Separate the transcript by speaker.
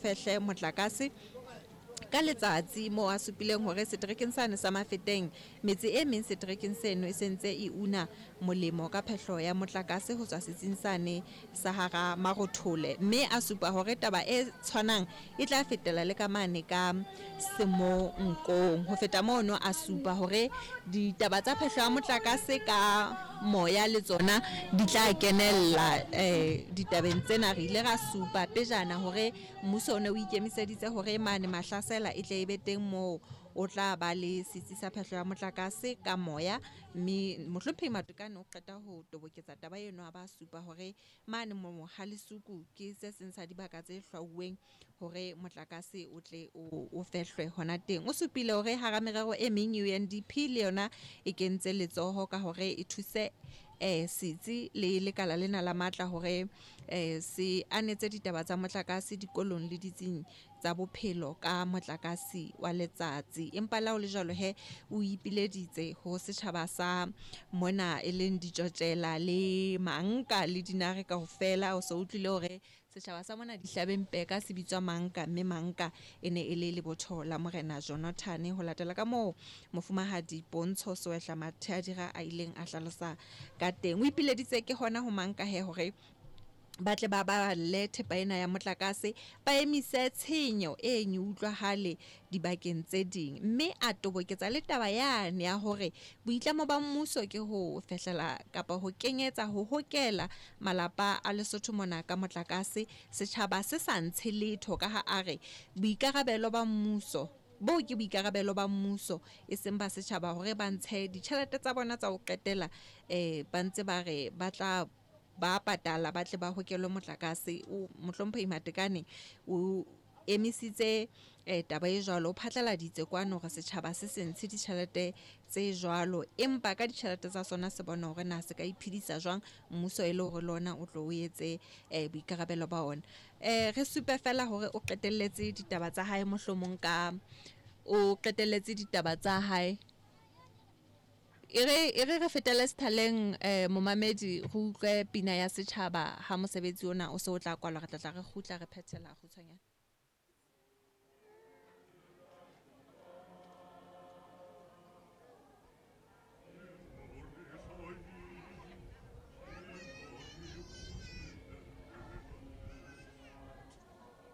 Speaker 1: fehle motlakase ka letsatsi, moo a supileng hore seterekeng sane sa Mafeteng metse e meng seterekeng seno e sentse e una molemo ka phehlo ya motlakase ho tswa setsing sane sa hara Marothole, mme a supa hore taba e tshwanang e tla fetela le ka mane ka Semonkong. Ho feta mono a supa hore ditaba tsa phehlo ya motlakase ka moya le tsona di tla kenella ditabeng tsena. Re ile ra supa pejana hore mmuso o ne o ikemiseditse hore mane Mahlasela e tle e be teng moo o tla ba le setsi sa phehlo ya motlakase ka moya, mme Mohlomphehi Matekane o qeta ho toboketsa taba eno a ba supa hore mane Mohalesuku ke se seng sa dibaka tse hlwauweng hore motlakase o tle o fehlwe hona teng. O supile hore hara merero e meng UNDP le yona e kentse letsoho ka hore e thuse setsi le lekala lena la matla hore se anetse ditaba tsa motlakase dikolong le ditsing tsa bophelo ka motlakase wa letsatsi. Empa le ha ho le jwalo he, o ipileditse ho setjhaba sa mona e leng ditjotjela le manka le dinare kaofela. O so utlwile hore setjhaba sa mona dihlabeng peka se bitswa manka, mme manka e ne e le lebotho la morena Jonathan, ho latela ka moo mofumahadi Pontsho Soehla Matheadira a ileng a hlalosa ka teng. O ipileditse ke hona ho manka he hore ba tle ba baballe thepa ena ya motlakase, ba emise tshenyo e utlwahale dibakeng tse ding, mme a toboketsa le taba yane ya hore boitlamo ba mmuso ke ho fehlela kapa ho kenyetsa ho hokela malapa a Lesotho mona ka motlakase, setjhaba se sa ntshe letho, ka ha a re boikarabelo ba mmuso boo ke boikarabelo ba mmuso e seng ba setjhaba hore ba ntshe ditjhelete tsa bona tsa ho qetela, ba ntse ba re ba tla ba patala ba tle ba hokelwe motlakase. O Mohlomphehi Matekane o emisitse taba e jwalo, o phatlaladitse kwano hore setjhaba se se ntshe ditjhelete tse jwalo, empa ka ditjhelete tsa sona se bona hore na se ka iphedisa jwang, mmuso e le hore le ona o tlo o etse boikarabelo ba ona. Re supe fela hore o qetelletse ditaba tsa hae, mohlomong ka o qetelletse ditaba tsa hae. E re re fetele sethaleng, momamedi, re utlwe pina ya setjhaba ha mosebetsi ona o se o tla kwalwa, re tla tla re kgutla re phethela kgutshwanyane.